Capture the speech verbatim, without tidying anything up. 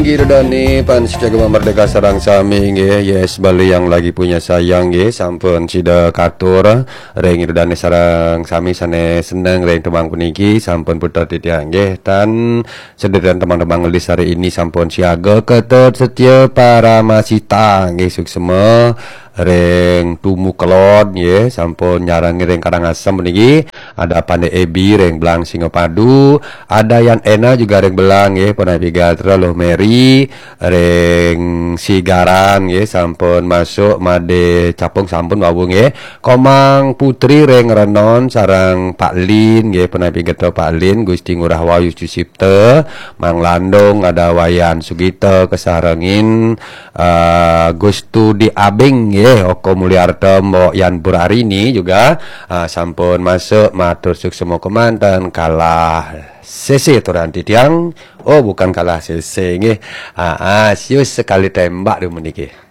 Inggih Ida dane pan setia Gema Merdeka sareng sami nggih. Yes, Bali yang lagi punya sayang nggih, sampun sida katur ring Ida dane sareng sami sane seneng ring tembang puniki, sampun puter titiang nggih. Tan sedherek tembang-tembang ngelis hari ini sampun siaga, Ketut Setia Paramasita nggih, suksma ring Tumu Kelod nggih, sampun nyarengin ring Karangasem puniki. Ada Pandai Ebi ring Belang Singapadu, ada Yan Ena juga ring Belang nggih, punapi gatra Luh Meri ring Sigaran nggih, sampun masuk, Made Capung sampun wau nggih. Komang Putri ring Renon sareng Pak Lin nggih, punapi gatra Pak Lin, Gusti Ngurah Wahyu Sucipta, Mang Landung, ada Wayan Sugita kasarengin, eh, Gustu di Abing nggih, Oko Mulyarta, Mbok Yan Burarini juga, ah, sampun masuk, matur suksma kemanten, Kalah Sese aturan titiang. Oh, bukan Kalah Sese nggih. Ah, ah, sius sekali tembak di meniki.